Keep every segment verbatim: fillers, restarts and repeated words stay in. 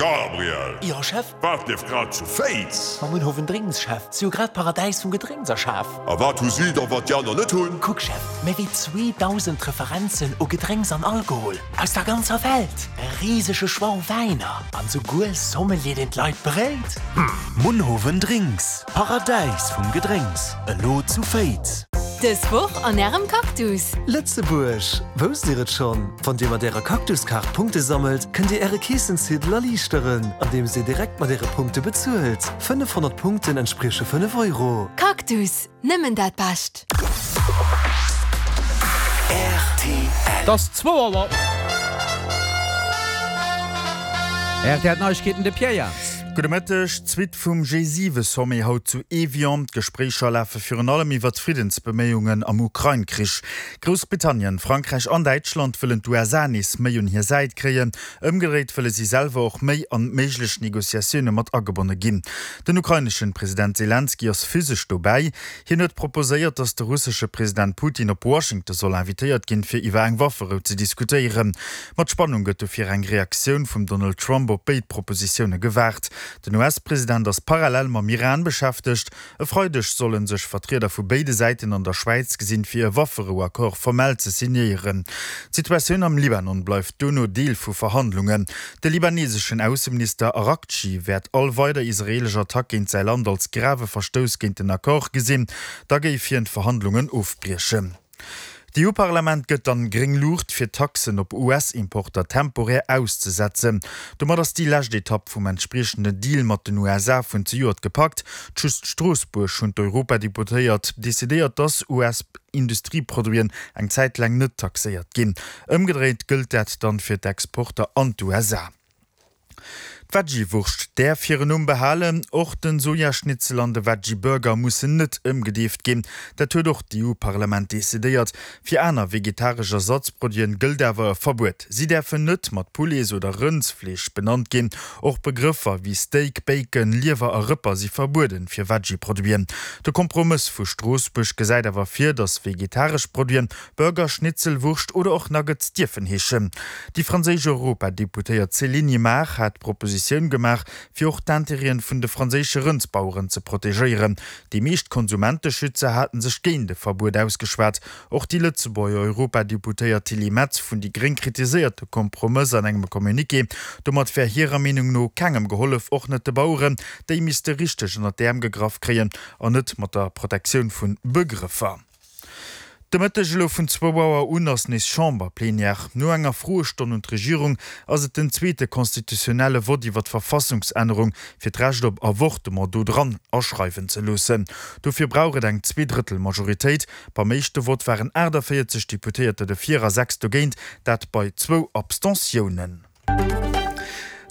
Gabriel! Jo, Chef? Wat leeft grad zu Féiz? Mam Munhowen Drinks, Chef. Si hu grad d'Paradäis vum Gedrénks erschaf. A wat hu si da, wat déi aner net hunn? Kuck, Chef, méi wéi zweedausend Referenzen u Gedrénks an Alkohol aus der ganzer Welt, e risege Choix u Wäiner an souguer e Sommelier, deen d'Leit beréit. Munhowen Drinks, Paradäis vum Gedrénks, elo zu Féiz. Dës Woch an Ärem Cactus! Lëtzebuerg, Wousst Dir et schonn? Wann Dir mat Ärer Cactus-Kaart Punkte sammelt, kënnt Dir Äre Keessenziedel erliichteren, andeems Dir direkt mat Äre Punkte bezuelt. fënnefhonnert Punkten entsprieche fënnef Euro. Cactus, nëmmen dat Bescht! Et ass zwou Auer. R T L Neiegkeeten, de Pierre Jans. Gudde Mëtteg. D'Suite vum G siwe Sommet haut zu Evian. D'Gespréicher lafe virun allem iwwer d'Friddensbeméiungen am Ukrain-Krich. Groussbritannien, Frankräich an Däitschland wëllen d'U S A nees méi un hir Säit kréien. Ëmgedréit wëlle si selwer och méi an méiglech Negociatioune mat agebonne ginn. Den ukraineschen President Selenskyj ass physesch dobäi. Hien huet proposéiert, datt de russesche President Putin op Washington soll invitéiert ginn, fir iwwer eng Wafferou ze diskutéieren. Mat Spannung gëtt dofir eng Reaktioun vum Donald Trump op béid Propositioune gewaart. Den U S-President ass parallel mam Iran beschäftegt. E Freideg solle sech Vertrieder vu béide Säiten an der Schwäiz gesinn, fir e Wafferou-Accord formell ze signéieren. D'Situatioun am Libanon bleift dono Deel vu Verhandlungen. De libaneseschen Ausseminister Araghchi wäert all weider israeelesch Attack géint säi Land als grave Verstouss géint den Accord gesinn. Da géif hien d'Verhandlungen ofbriechen. D'E U-Parlament gëtt dann gréng Luucht fir Taxen op U S-Importer temporär auszesetzen. Domat ass déi lescht Etapp vum entspriechenden Deal mat den U S A vun zejoert gepackt. Zu Stroossbuerg hunn d'Europadeputéiert decidéiert, dass U S-Industrieproduiten eng Zäit laang net taxéiert ginn. Ëmgedréit gëllt dat dann fir d'Exporter an d'U S A. D'Veggie-Wurscht däerf hiren Numm behalen, och den Sojaschnitzel an de Veggie-Burger mussen net ëmgedeeft ginn. Dat huet och d'E U-Parlament decidéiert. Fir aner vegetaresch Ersatzproduiten gëllt awer e Verbuet. Si däerfen net mat Poulets oder Rëndsfleesch benannt ginn. Och Begrëffer wéi Steak, Bacon, Liewer a Rëpper si verbueden fir Veggie-Produiten. De Kompromëss vu Stroossbuerg gesäit awer vir, dass vegetaresch Produiten Burger, Schnitzel, Wurscht oder och Nuggets dierfen heeschen. Déi franséisch Europadeputéiert Céline Imart hat d'Propositioun gemaach, fir och d'Intérêten vun de franséische Rëndsbaueren ze protegéieren. Déi meescht Konsumenteschützer haten sech géint de Verbuet ausgeschwat. Och déi Lëtzebuerger Europadeputéiert Tilly Metz vun déi Gréng kritiséiert de Kompromëss an engem Communiqué. Domat wär hirer Meenung no kengem gehollef, och net de Baueren, déi misste richteg ënnert d'Äerm gegraff kréien an net mat der Protektioun vu Begrëffer. De Mëtteg elo vun zwou Auer un ass nees Chamberplenière. No enger Froestonn un d'Regierung ass et den zweete konstitutionelle Vott iwwer d'Verfassungsännerung, fir d'Recht op Avortement do dran aschreiwen ze loossen. Dofir brauch et eng Zweedrëttelmajoritéit. Beim éischte Vott waren aachtavéierzeg Deputéierter dofir a sechs dogéint, dat bei zwou Abstentiounen.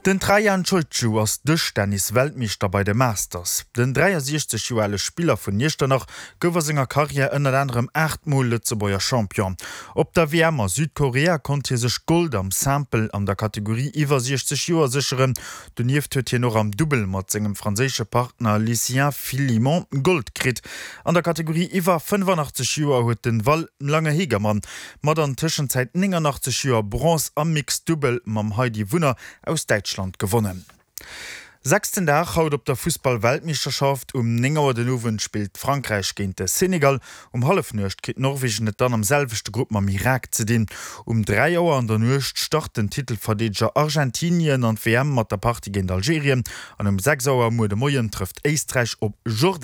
Den Trajan Ciociu ass Dëschtennis-Weltmeeschter bei de Masters. Den dräiasiechzeg Joer ale Spiller vun Iechternach gouf a senger Karriär ënnert anerem aacht Mol Lëtzebuerger Champion. Op der W M a Südkorea konnt hie sech Gold am Simple an der Kategorie iwwer siechzeg Joer sécheren. Donieft huet hien och am Dubbel mat sengem franséische Partner Lucien Philimon Gold kritt. An der Kategorie iwwer fënnefanachteg Joer huet den Val Lange-Hegermann mat an Tëschenzäit nénganachteg Joer Bronze am Mixed Dubbel mam Heidi Wunner aus Däitschland gewonnen. Sechsten Dag haut op der Fussball-Weltmeeschterschaft, Um néng Auer den Owend spillt Frankräich géint de Senegal. Um Hallefnuecht kritt Norwegen et dann am selwechte Grupp mam Irak ze dinn. Um dräi Auer an der Nuecht start den Titelverdeedeger Argentinien an d'W M mat der Partie géint Algerien an um sechs Auer muer de Moien trëfft Éisträich op Jordanien.